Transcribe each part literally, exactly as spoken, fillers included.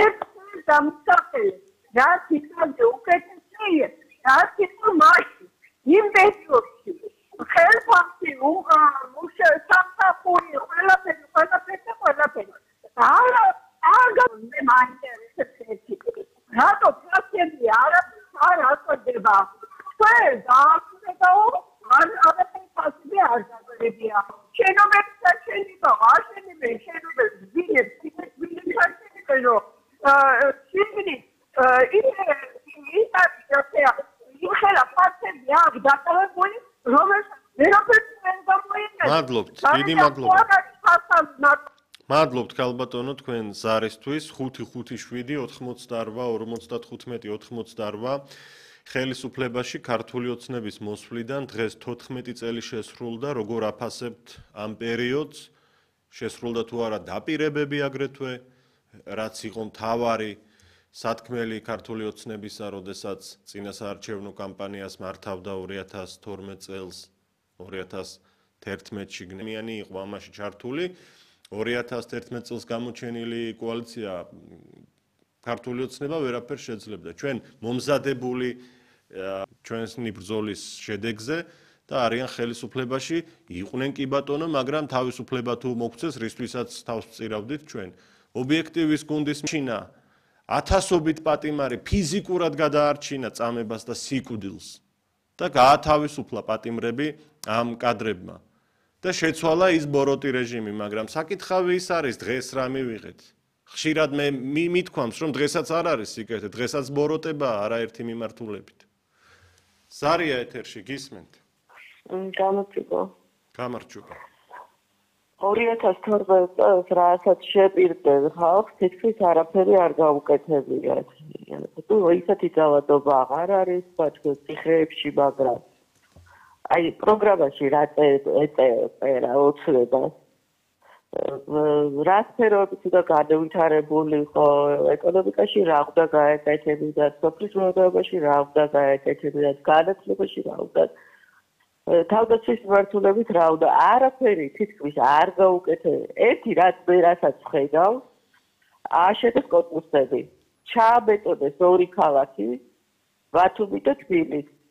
ერთი დამსახელე რაც იქამდე უკეთესია რაც იყო მაშინ იმ პერიოდში ხელფასი სამსახური ყველაფერი ყველაფერი ყველაფერი არა არა მე მაინტერესებს ერთი რატო ფასები არაფერს არ აწოდება ჩვენ დააკვირდაო არ არაფერი ფასები არ დაგერებია შენობებს შენება აშენებენ შენობებს ძინებს ძინებს აშენებენო შიგნით ისე ისე იხელა ფასები აქ დაკავებული რომელსაც ვერაფერს ვერ გამოიყენებს მადლობთ დიდი მადლობა მადლობთ ქალბატონო თქვენ ზარისთვის ხუთი ხუთი შვიდი ოთხმოცდაორვა ორმოცდათხუთმეტი ოთხმოცდაორვა ხელისუფლებაში ქართული ოცნების მოსვლიდან დღეს თოთხმეტი წელი შესრულდა როგორ აფასებთ ამ პერიოდს შესრულდა თუ არა დაპირებები აგრეთვე რაც იყო მთავარი სათქმელი ქართული ოცნებისა როდესაც წინასაარჩევნო კამპანიას მართავდა ორი ათას თორმეტ წელს ორი ათას თერთმეტში გნიანი იყო ამაში ჩართული ორი ათას თერთმეტ წელს გამოჩენილი კოალიცია ქართული ოცნება ვერაფერს შეძლებდა ჩვენ მომზადებული ჩვენი ბრძოლის შედეგზე და არიან ხელისუფლებაში იყვნენ კი ბატონო მაგრამ თავისუფლება თუ მოგცეს რისთვისაც თავს წირავდით ჩვენ ობიექტივის გუნდის მშინა ათასობით პატიმარი ფიზიკურად გადაარჩინა წამებას და სიკვდილს და გაათავისუფლა პატიმრები ამ კადრებმა და შეცვალა ის ბოროტი რეჟიმი მაგრამ საკითხავი ის არის დღეს რა მივიღეთ ხშირად მე მithქვამს რომ დღესაც არ არის სიკეთე დღესაც ბოროტებაა არაერთი მიმართულებით ზარია ეთერში გისმენთ გამარჯობა გამარჯობა ორი ათას თორმეტ წელს რასაც შეპირდნენ ხალხს თითქმის არაფერი არ გაუკეთებიათ თუ ისეთი ძალადობა აღარ არის ბაჭკოს ციხეებში მაგრამ აი პროგრამაში რა ეწერა ოცნებას რა სფეროებიც უნდა გადავითარებული ხო ეკონომიკაში რა უნდა გაეკეთებინათ სოფლის მეურნეობაში რა უნდა გაეკეთებინათ განათლებაში რა უნდა თავდაცვის მიმართულებით რა უნდა არაფერი თითქმის არ გაუკეთებია ერთი რაც მე რასაც ვხედავ ააშენეს კოსმოსები ჩააბეტონეს ორი ქალაქი ბათუმი და თბილისი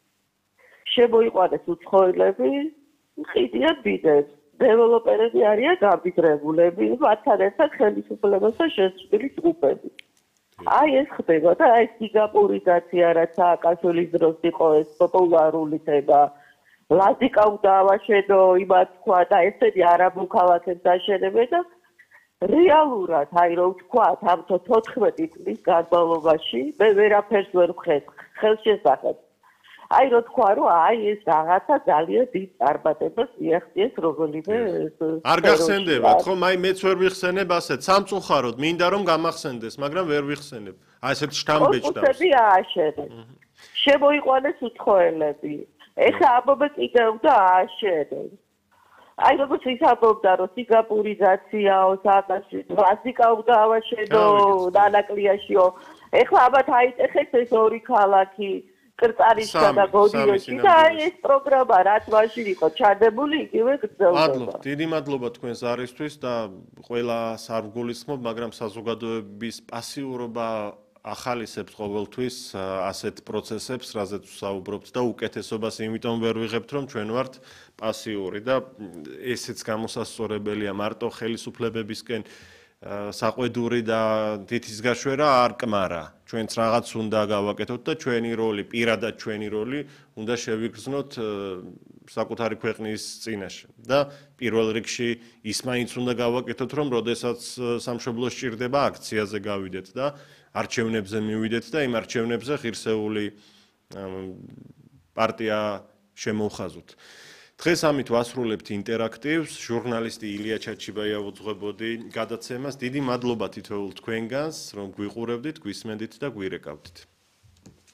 შემოიყვანეს უცხოელები ყიდიან ბიზნესს დეველოპერები არიან გაბიძრებულები მათთან ერთად ხელისუფლებასთან შეცვლილი ჯგუფები აი ეს ხდება და აი სინგაპურიზაცია რაც სააკაშვილის დროს იყო ეს პოპულარული თემა ლაზიკა უნდა ავაშენო იმათ თქვა და ესენი არაბულ ქალაქებს აშენებენ და რეალურად აი რომ ვთქვათ ამ თოთხმეტი წლის განმავლობაში მე ვერაფერს ვერ ვხედ ხელშესახებს აი რო თქვა რომ აი ეს რაღაცა ძალიან დიდ წარმატებას მიაღწიეს რომელიმე არ გახსენდებათ ხო აი მეც ვერ ვიხსენებ ასეთ სამწუხაროდ მინდა რომ გამახსენდეს მაგრამ ვერ ვიხსენებ აი ესეთ შთამბეჭდავს კოსმოსები ააშენეს შემოიყვანეს უცხოელები ეხლა ამბობენ კიდევ და ააშენეს აი როგორც ის ამბობდა რომ სინგაპურიზაციაო სააკაშვილის ლაზიკა უნდა ავაშენო დანაკლიაშიო ეხლა ამათ აიტეხეს ეს ორი ქალაქი კრწარისა და გოდიოში და აი ეს პროგრამა რაც მაშინ იყო ჩადებული იგივე გრძელდება. მადლობა, დიდი მადლობა თქვენს არისთვის და ყველას არ ვგულისხმობ, მაგრამ საზოგადოების პასიურობა ახალისებს ყოველთვის ასეთ პროცესებს, რაზეც ვსაუბრობთ და უკეთესობას იმიტომ ვერ ვიღებთ, რომ ჩვენ ვართ პასიური და ესეც გამოსასწორებელია მარტო ხელისუფლებებისკენ საყვედური და თითის გაშვერა არ კმარა. ჩვენც რაღაც უნდა გავაკეთოთ და ჩვენი როლი, პირადად ჩვენი როლი უნდა შევიგრძნოთ საკუთარი ქვეყნის წინაშე. და პირველ რიგში ის მაინც უნდა გავაკეთოთ, რომ როდესაც სამშობლოს სჭირდება აქციაზე გავიდეთ და არჩევნებზე მივიდეთ და იმ არჩევნებზე ღირსეული პარტია შემოვხაზოთ. დღეს ამით ვასრულებთ ინტერაქტივს, ჟურნალისტი ილია ჩაჩიბაია უძღვებოდი გადაცემას. დიდი მადლობა თითოეულ თქვენგანს, რომ გვიყურებდით, გვისმენდით და გვირეკავდით.